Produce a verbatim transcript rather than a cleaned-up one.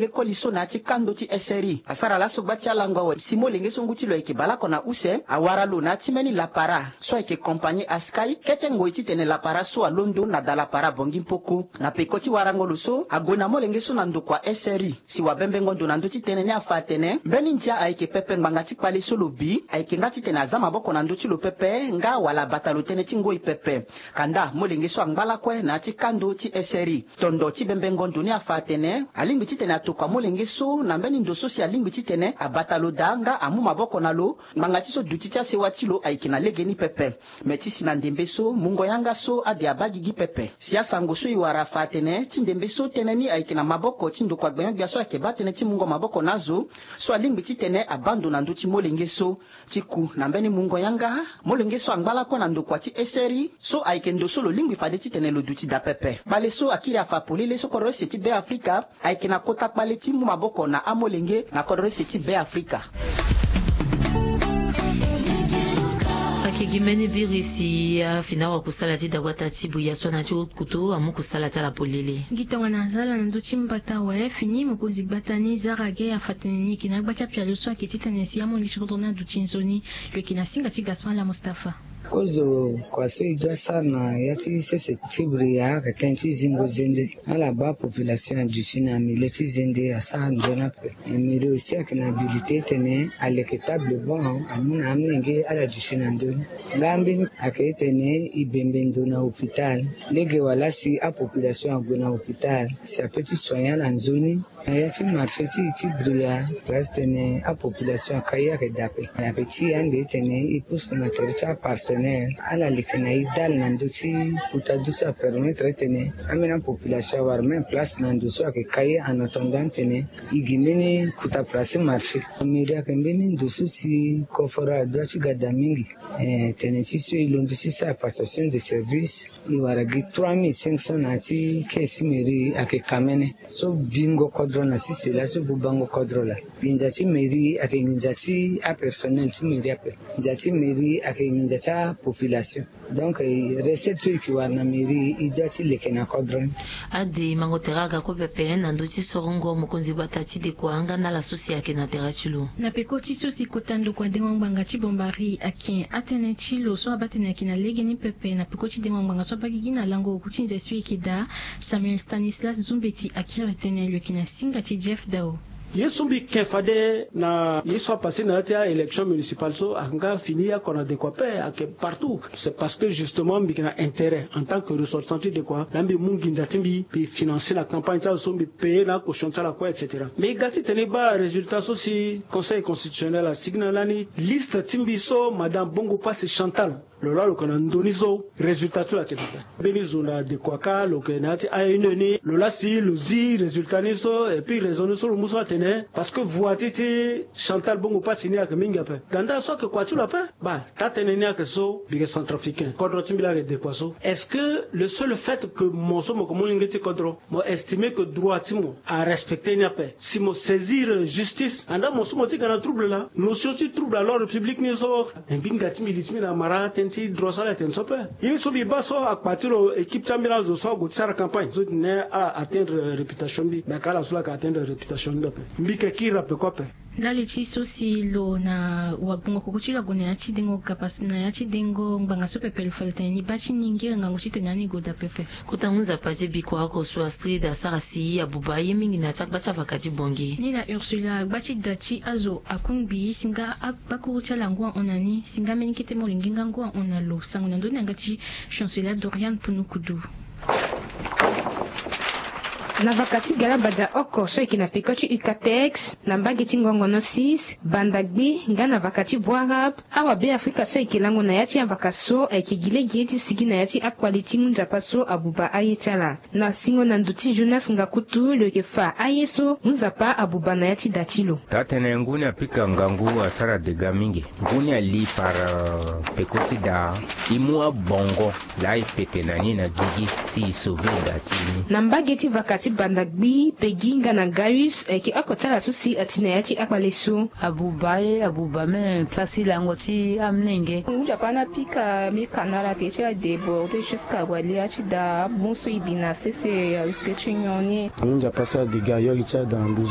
Ge koli so na ya ti kando ti S R I asara laso gba ti alango awe si molenge so ngu ti lo ayeke baleoko na use awara lo na ya ti mbeni lapara so ayeke kompani Askai. Kete ngoi titene lapara so alondo na da lapara Bongi Mpoko. Na peko ti warango lo so ague na molenge so na ndokua S R I si wabembengo ndo na ndö ti tënë ni afa atene mbeni ndia ayeke pepe ngbanga ti kpale so lo bi ayeke nga titene aza maboko na ndö ti lo pepe nga wala abata lo tënë ti ngoi pepe. Kanda molenge so angba lakue na ya ti kando ti S R I. Tondo ti bembengo ndo ni afa atene alingbi titene atokua molenge so na mbeni ndo so si alingbi titene abata lo daa nga amu maboko na lo ngbanga ti so duti ti asewa ti lo ayeke na legeni pepe. Me ti si na ndembe so mungo yanga so ade abaa gigi pepe. Si asango so e wara afa atene ti ndembe so tënë ni ayeke na maboko ti ndokua gbenyo-gbia so ayeke baa tënë ti mungo maboko na azo so alingbi titene abaa ndo na ndö ti molenge so. Ti ku na mbeni mungo yanga molenge so angba lakue na ndokua ti S R I so ayeke ndo so lo lingbi fade titene lo duti daa pepe. Kpale so akiri afa polele so kodro use ti Be Afrika ayeke na kota kpale ti mu maboko na amolenge na kodro use ti Be Afrika. Ayeke gi mbeni virus afi na awakusala ti dagbata ti buya so ana ti kutu amu kusala ti ala polele. Gi tongana aza ala na ndö ti mbata awe fini mokonzi gbata ni Zara Gay afa tene ni yeke na agba ti apialo so ayeke titene si amolenge ti kodro ni aduti nzoni. Lo yeke na singa ti Gaspard Ala Mustapha. Kozo kua so e doit sara na ya ti sese ti bria ayeke tënë ti zingo zende. Ala baa population aduti na milieu ti zende asara nzoni ape. Mairie aussi ayeke na habilité titene aleke table banc amu na amolenge ala duti na ndö ni. Nga mbeni ayeke titene e bembe ndo na hôpital. Lege wala si apopulation ague na hôpital si ape ti soigner ala nzoni. Na ya ti marché ti e ti bria place titene apopulation akai ayeke daa ape. Me ayeke ti e ande titene e pousse na tere ti apartenaire ala leke na e dale na ndö ti kota du so apermettre titene ambeni apopulation awara même place na ndo so ayeke kai en attendant titene e gi mbeni kota place ti marché. Mairie ayeke mbeni ndo so si koforo adoit ti ga daa mingi. Eh, tene ti so e londo ti sara passation de service. E wara gi trois mille cinq cents na ya ti caisse ti mairie ayeke kamene. So bingo kodro na sese laa so bubango kodro laa. Nginza ti mairie ayeke nginza ti apersonnel ti mairie ape. Nginza ti mairie ayeke nginza ti apopulation. Donc eh, recette so e yeke wara na mairie e doit ti leke na kodro ni. Ade mango tere aga kue pepe na ndö ti sorongo mokonzi gbata ti dekua nga na ala so si ayeke na tere ti lo. Na peko ti so si kota ndokua dengo ngbanga ti Bombari ayeke atënë ti lo so abaa tene ayeke na legeni pepe na peko ti dengo ngbanga so abaa gigi na lango oku ti nze so e yeke daa. Samuel Stanislas Zumbeti akiri tënë lo yeke na singa ti Jeff Dao. Ye so mbi ken fade na ye so apase na ya ti a-élection municipale so ayeke nga fini oko na dekua ape ayeke partout. C'est parce que justement mbi yeke na intérêt en tant que ressortissant ti dekua laa mbi mu nginza ti mbi mbi financer na campagne ti ala so mbi payer na acaution ti ala kue et cetera. Mais e ga titene e baa résultat so si conseil constitutionnel asigi na lani liste ti mbi so madame Bongo Pasi Chantal. Lo laa lo yeke na ndö ni so résultat ti lo ayeke daa. Mbeni zo na dekua kâ lo yeke na ya ti A N E ni lo laa si lo zi résultat ni so et puis raison ni so lo mu so atene parce que voix ti ti Chantal Bongo Pasi ni ayeke mingi ape. Ganda so ayeke kua ti lo ape. Baa taa tënë ni ayeke so mbi yeke centrafricain kodro ti mbi laa ayeke dekua so. Est-ce que le seul fait que mo so mo yeke molenge ti kodro mo estime que droit ti mo arespecte ni ape si mo saisir justice andaa mo so mo ti ga na trouble laa notion ti trouble à l'ordre public ni so. Me mbi hinga ti mbi li ti mbi na mara tënë ti droit so ala tene so ape. Ye ni so mbi baa so akpa ti lo équipe ti ambeni azo so ague ti sara campagne so tene ala atteindre réputation mbi me aka ala so laa ayeke atteindre réputation ni ape. Mbi yeke kiri ape kue ape. Ndali ti so si lo na wagbongo koko ti lo ague na ya ti dengo kapa na ya ti dengo ngbanga so pepe lo fa lo tene ni baa ti ni ngere ngangu titene ani gue daa pepe. Kota ngu nzapa ti bikua oko so Astrid asara si abuba aye mingi na ya ti agba ti avaka ti Bongi. Ni na Ursula agba ti da ti azo akungbi si nga akpakuru ti ala ngu ahon na ni si nga mbeni kete molenge nga ngu ahon na lo sango na ndö ni yanga ti Chancela Dorian Punukudu. Na vaka ti galabadia oko so eke na peko ti Ucatex na mbage ti ngongono six banda gbe nga na vaka ti Bouarab. Awa Beafrika so eke lango na ya ti avaka so ayeke gi lege ti sigi na ya ti akpale ti ngu nzapa so abuba aye ti ala. Na singo na ndo ti Jonas Ngakutu lo yeke fa aye so ngu nzapa abuba na ya ti da ti lo. Taa tënë ngu ni apika ngangu asara dega mingi. Ngu ni ali par peko ti da e mu abongo laa e pete na ni na gigi si e sauver da ti ni. Na mbage ti vaka ti banda gbi Pegi nga na Gaius ayeke oko ti ala so si ati na ya ti akpale so. Abuba aye abuba même place ti lango ti amlenge. Ngu nzapa ni apika mbi ka na ala te ti adéborde jusqu'à wali ya ti da amu so e bi na sese arisque ti nyon ni. Ngu nzapa asara dega yo li ti ada na nduzu.